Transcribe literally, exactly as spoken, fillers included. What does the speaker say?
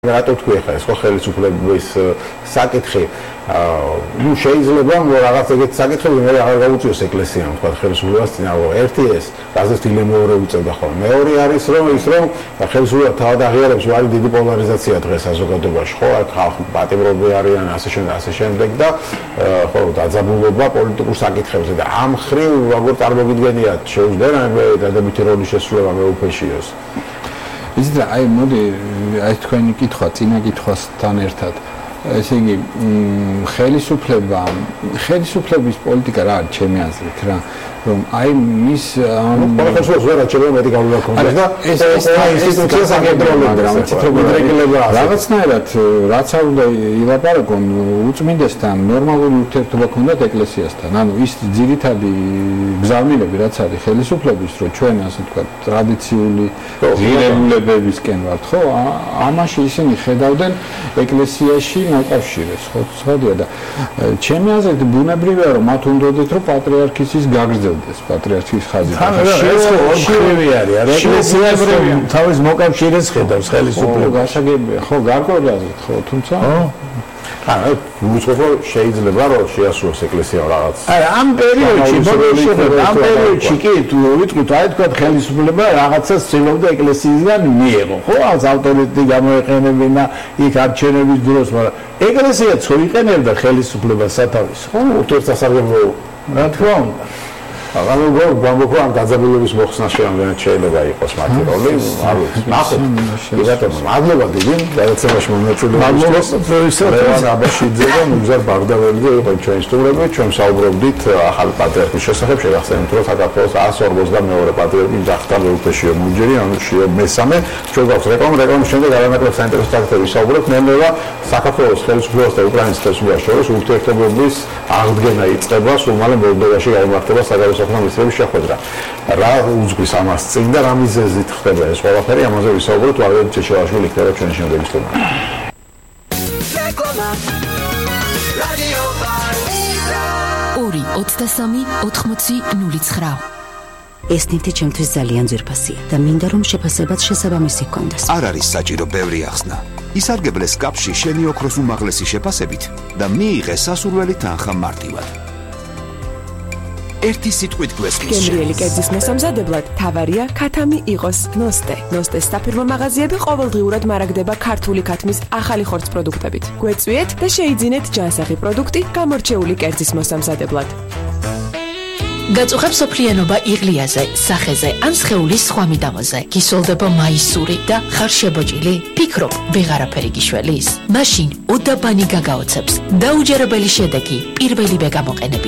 რატო თქვი ახლა ეს ხო ხელისუფლების საკითხი ნუ შეიძლება რაღაც ეგეთ საკითხები მე აღარ გავუწიოს ეკლესიამ თქვა ხელისუფლებას წინააღმდეგ ერთი ეს რაზეც დილემეორე უწევდა ხოლმე მეორე არის რომ ის რომ ხელისუფლება თავად აღიარებს რომ არის დიდი პოლარიზაცია დღეს საზოგადოებაში ხო ხალხი პატიმრობი არიან ასე შემდეგ ასე შემდეგ და ხო დაძაბულობა პოლიტიკურ საკითხებზე და ამ ხრივ როგორ წარმოგიდგენიათ შეუძლია დადებითი როლის შესრულება მეუფეშიოს ისიც აი მოდი აი თქვენი კითხვა წინა კითხვასთან ერთად ესე იგი ხელისუფლება ხელისუფლების პოლიტიკა რა არის ჩემი აზრით რა რომ აი მის პოლიტიკას ვერ აჩვენა მეტი გავლენა ქონდეს და ეს ეს ინსტიტუცია საკონტროლო რა მიწითრობა რაღაცნაირად რაც არ უნდა ილაპარაკონ უწმინდესთან ნორმალური ურთიერთობა ქონდათ ეკლესიასთან ანუ ის ძირითადი გზავნილები რაც არის ხელისუფლების რომ ჩვენ ასე ვთქვათ ტრადიციული ღირებულებებისკენ ვართ ხო ამაში ისინი ხედავდნენ ეკლესიაში მოკავშირეს ხო ცოდია და ჩემი აზრით ბუნებრივია რომ მათ უნდათ რომ პატრიარქის ის გაგრძელდეს პატრიარქის ხაზი ხრივი არის არა ეკლესიას თავის მოკავშირეს ხედავს ხელისუფლება გასაგებია ხო გარკვეულადად ხო თუმცა ანუ უცხო შეიძლება რომ შეასრულოს ეკლესია რაღაც აი ამ პერიოდში ბოლოში ამ პერიოდში კი თუ ვიტყვით აი თქვა ხელისუფლება რაღაცას ცდილობდა ეკლესიისგან მიეღო ხო ამ ავტორიტეტი გამოეყენებინა იქ არჩევნების დროს მაგრამ ეკლესიაც ხო იყენებდა ხელისუფლებას სათავეს ხო ურთიერთსასარგებლო რა თქმა უნდა ანუ გამოგო ამ დაძაბულობის მოხსნას შეიძლება შეიძლება იყოს მათი როლი არ ვიცი ნახოთ ბატონო მადლობა დიდი გადაცემაში მონაწილეობის ლევან აბაშიძე და მუგზარ ბაგდაველიძე იყო ჩვენი სტუმრები ჩვენ საუბრობდით ახალი პატრიარქის შესახებ შეგახსენებთ რომ საქართველოს εκατს ორმოცდამეორე პატრიარქი გახდა მეუფეშიო მუჯერი ანუ შიო მესამე ჩვენ გვაქვს რეკლამა რეკლამის შემდეგ არანაკლებ საინტერესო საკითხები ვისაუბრებთ ნელ-ნელა საქართველოს ხელისუფლებას და უკრაინის ხელისუფლებას შორის ურთიერთობების აღდგენა იწყება სულ მალე მოლდოვაში გამართება საგარეო საქმეების შეხვედრა. რა უძღვის ამას წინ და რა მიზეზით ხდება ეს ყველაფერი ამაზე ვისაუბროთ ვარდან ჩეჩევაშვილი იქნება ჩვენი შემდეგი სტუმარი. ორი ოცდასამი ოთხმოცი ნული ცხრა ეს ნივთი ჩემთვის ძალიან ძვირფასია და მინდა რომ შეფასებაც შესაბამისი ჰქონდეს. არ არის საჭირო ბევრი ახსნა. ისარგებლეს კაფში შენი ოქროს უმაღლესი შეფასებით და მიიღე სასურველი თანხა მარტივად. ერთი სიტყვით გვესმის. გემრიელი კერძის მოსამზადებლად თავარია ქათამი იყოს ნოსტე. ნოსტეს საფირმო მაღაზიები ყოველდღიურად მარაგდება ქართული ქათმის ახალი ხორცს პროდუქტებით. გვეწვიეთ და შეიძინეთ ჯანსაღი პროდუქტი გამორჩეული კერძის მოსამზადებლად. გაწუხებს სოფლიანობა იღლიაზე, სახეზე ან სხეულის სხვა მიდამოზე. გისოლდება მაისური და ხარ შებოჭილი? ფიქრობ, ვეღარაფერი გიშველის? მაშინ უდაბანი გაგაოცებს. დაუჯერებელი შედეგი პირველივე გამოყენებით.